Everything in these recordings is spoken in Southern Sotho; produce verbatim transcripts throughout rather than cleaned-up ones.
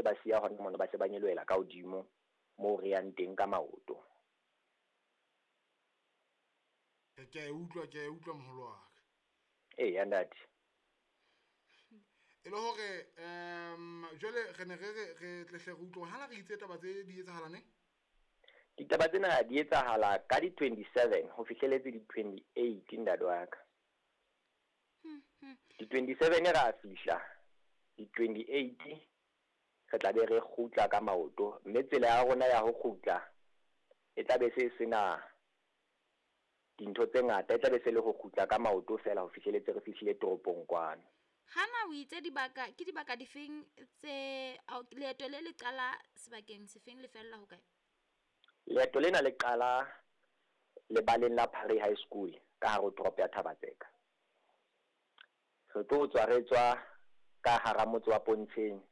ba siya hona mono, ba se ba nyolohela ka hodimo moo re yang teng ka maoto. Ke a e utlwa, ke a e utlwa moholo wa ka. Eya ntate. E le hore um jwale re ne re re re tle hle re utlwe hore hana re itse taba tse di etsahala neng? Ditaba tsena di etsahala ka di twenty-seven ho fihleletse di twenty-eight ntate wa ka. Di twenty-seven ra fihla, di twenty-eight re tla be re kgutla ka maoto, mme tsela ya rona ya ho kgutla e tla be se sena dintho tse ngata, e tla be se le ho kgutla ka maoto fela ho fihleletse re fihlile toropong kwano. Hana o itse dibaka ke dibaka difeng tse leeto le le qala sebakeng sefeng le fella hokae? Leeto lena le qala lebaleng la Phare High School ka hare ho toropo ya Thaba-Tseka. Re tlo tswa re tswa ka hara motse wa Pontsheng,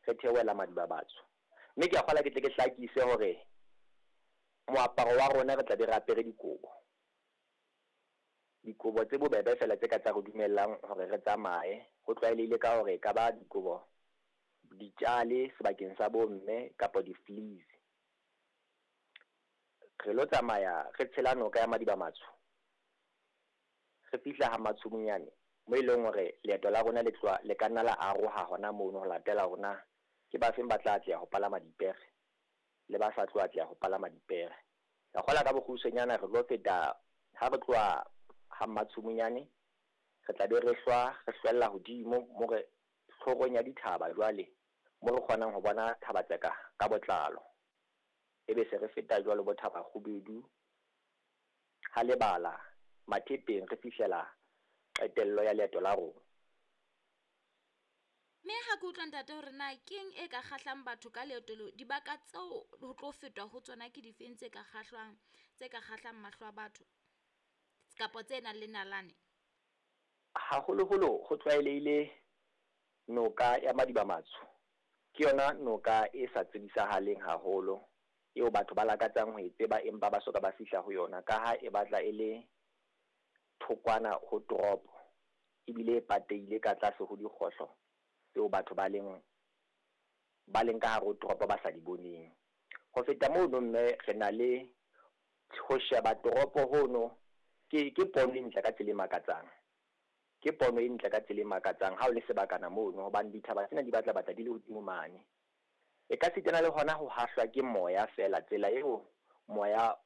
re theohela Madibabatso. Mme ke a kgola ke tle ke hlakise hore moaparo wa rona re tla be re apere dikobo. Dikobo tse bobebe fela tse ka tsa re dumellang hore re tsamaye. Ho tlwaelehile ka hore e ka ba dikobo ditjale sebakeng sa bomme kapa di-fleece. Re lo tsamaya re tshela noka ya Madiba-Matsho, re fihla ha Matshumunyane mo e leng hore leeto la rona le tloha le ka nna la aroha hona mono ho latela hore na ke ba feng ba tla atleha ho palama dipere le ba sa tlo atleha ho palama dipere. Ka kgola ka bokgutshwanyane re tlo feta ha re tloha ha Matshumunyane, re tla be re hlwa re hlwella hodimo mo re tlhorong ya dithaba jwale mo re kgonang ho bona Thaba-Tseka ka botlalo. Ebe se re feta jwalo bo Thaba Kgubedu, ha lebala Mathepeng re fihlela qetello ya leeto la rona. Mme ha ke utlwa ntate hore na keng e ka kgahlang batho ka leeto leo, dibaka tseo ho tlo fetwa ho tsona ke difeng tse ka kgahlwang, tse ka kgahlang mahlo a batho kapa tse nang le nalane? Haholoholo ho tlwaelehile noka ya Madiba-Matsho. Ke yona noka e sa tsebisahaleng haholo eo batho ba lakatsang ho e tseba empa ba soka ba fihla ho yona, ka ha e batla e le thokwana ho toropo ebile e patehile ka tlase ho dikgohlo tseo batho ba leng ba leng ka hare ho toropo ba sa di boneng. Ho feta mono mme re na le ho sheba toropo hono ke ke pono e ntle ka tsela e makatsang. Ke pono e ntle ka tsela e makatsang ha o le sebakana mono, hobane dithaba tsena di batla batla di le hodimo mane. E ka sitana le hona ho hahlwa ke moya fela, tsela eo moya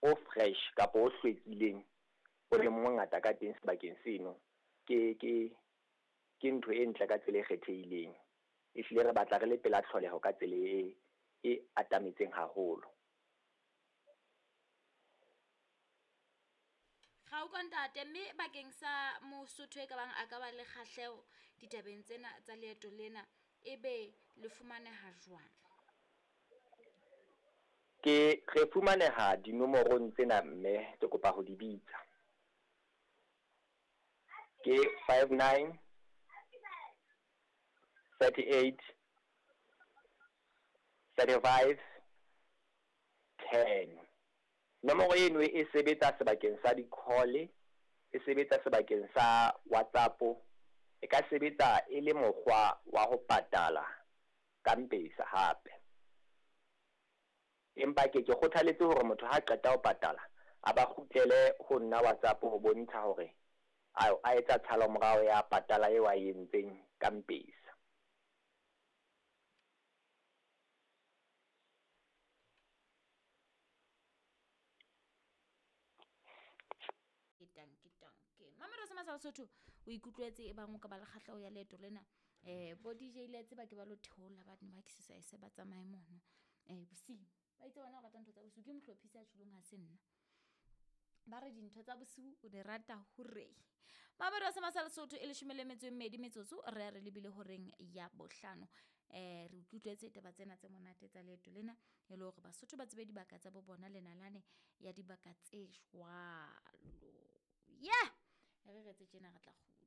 o fresh kapa o hlwekileng o leng mongata ka teng sebakeng seno ke ke ke ntho e ntle ka tsela e kgethehileng. Ehlile re batla re le pela tlholeho ka tsela e e atametseng haholo. Ga o ntate, mme bakeng sa Mosotho e ka bang a ka ba le kgahleho ditabeng tsena tsa leeto lena, ebe le fumaneha jwang? Ke re fumaneha dinomorong tsena mme ke kopa ho di bitsa. Ke five nine thirty-eight thirty-five ten. Nomoro eno e sebetsa sebakeng sa di-call, e sebetsa sebakeng sa WhatsApp, e ka sebetsa e le mokgwa wa ho patala ka M-Pesa hape. Empa ke ke kgothaletse hore motho ha qeta ho patala a ba kgutlele ho nna WhatsApp ho bontsha hore a a etsa tshalomorao ya patala eo a e entseng ka M-Pesa. Ke tanki tanki. Mamelo se masala Sotho o ikutlwetse e bang o ka ba le kgahleho ya leeto lena. Eh bo D J le tseba ke ba lo theola ba ne ba exercise ba tsamaye mono. Eh bosiu. Ba itse bona o rata ntho tsa bosiu ke mohlophisi a tjholong ha se nna. Ba re dintho tsa bosiu o di rata hore. Mamelo se masala Sotho e leshome le metso e mmedi metsotso re re lebile horeng ya bohlano. Eh re utlwetse taba tsena tse monate tsa leeto lena e le hore Basotho ba tsebe dibaka tsa bo bona le nalane ya dibaka tse jwalo. Yeah, re re tse tjena re tla kgutla.